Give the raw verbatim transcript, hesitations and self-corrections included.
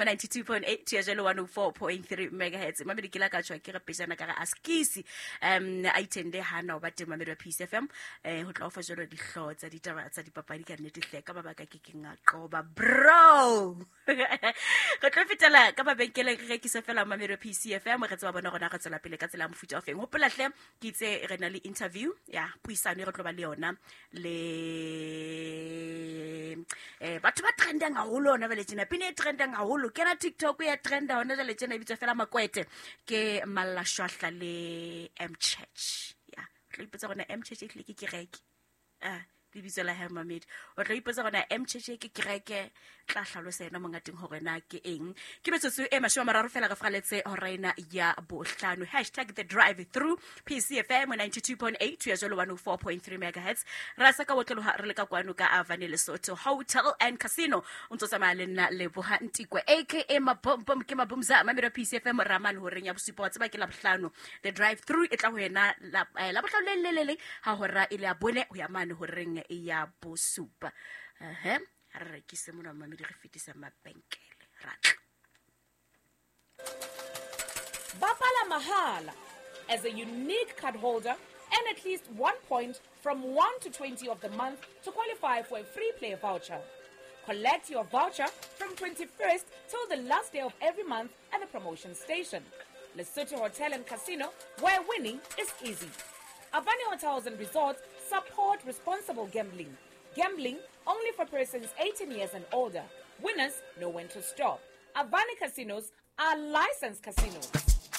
ninety-two point eight to ya jalo one oh four point three megahertz. Mamedi ke la ka tshwa ke re pejana ka re askisi um a itende hana o ba teng mamedi wa P C F M eh ho tla o fa jalo dihloho tsa ditaba tsa dipapadi ka nnete hle ka mabaka ke ke nga qoba bro. Re tlo fetela ka mabenkeleng re rekise fela mamedi wa P C F M re tseba bona rona re tswela pele ka tsela ya mofuta o feng. Hopola hle ke itse re na le interview ya puisano e re tlo ba le yona le eh batho ba trendang haholo hona jwale tjena, pina e trendang haholo kena TikTok ya trenda hona jwale tjena e bitswa fela Makwete ke Malla Shwahla le M Church. Ya o tlo ipotsa gona M Church e tlile ke kereke ah lebitso la hae mamedi o tlo ipotsa gona M Church ke kereke tla hlalosa yena monga teng hore na ke eng. Ke metsotso e mashome a mararo fela re fraletse hora ena ya bohlano. Hashtag the drive through P C F M ninety-two point eight to ya jalo one oh four point three megahertz. Ra sa ka otloloha re le ka kwano ka Avani Lesotho Hotel and Casino. O ntso tsamaya le nna Leboha Ntikwe aka Mabombom ke Mabumza mamedi wa P C F M ramane horeng ya bosupa wa tseba ke la bohlano. The drive through e tla ho yena la eh, la bohlano le le le le ha hora e le ya bone ho ya mane horeng ya bosupa. Ehe ha re rekise mona mamedi re fetisa mabenkele ra tla. Bapala mahala as a unique card holder and at least one point from one to twenty of the month to qualify for a free play voucher. Collect your voucher from twenty-first till the last day of every month at the promotion station. Lesotho Hotel and Casino, where winning is easy. Avani Hotels and Resorts support responsible gambling. Gambling only for persons eighteen years and older. Winners know when to stop. Avani Casinos are licensed casinos.